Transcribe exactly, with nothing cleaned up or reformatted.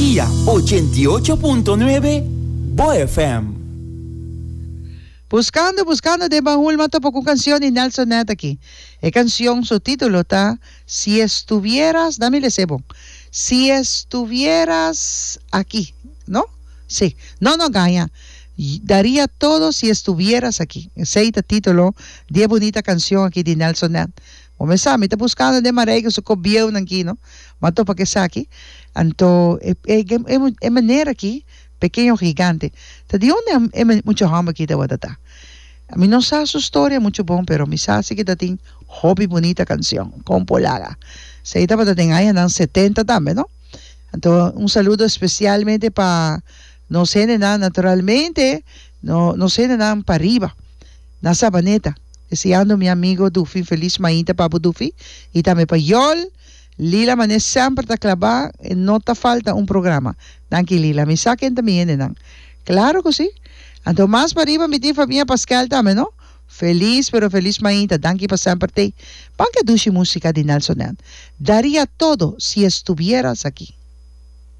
Energia ochenta i ocho punto nuebe, Bo F M. Buscando, buscando den bahul, m'a topa cu cancion di Nelson Ned aki. E cancion, su titulo ta "Si estuvieras", dame lesebo. "Si estuvieras aquí", no? Si. No, no, gaña. "Daría todo si estuvieras aquí". Esey ta titulo di e bunita cancion aki di Nelson Ned. Cuminsa, mi ta buscando den Marijke su cos bieu aki, no? M'a topa cu esaki. Anto, e, e, e, e manera aki, Pequeño Gigante. Ta di unda e mucha homber aki ta ta. Mi no sa su historia mucho bon, pero mi sa cu tin hopi bunita cancion, con polaga. Esey tabata den añanan setenta tambe, no? Anto, un saludo especialmente pa nos hendenan, naturalmente, no, nos hendenan pariba, na Sabaneta. Deseando mi amigo Dufi, feliz mainta pa bo, Dufi, y tambe pa Yol, Lila manera semper ta clava, no ta falta un programa. Danki, Lila, mi sa ken tambe nan. Claro cu si. Anto mas pariba mi tin famia Pascal tambe, no? Feliz, pero feliz mainta. Danki pa semper t'ey. Ban cu dushi musica di Nelson Ned. "Daría todo si estuvieras aquí".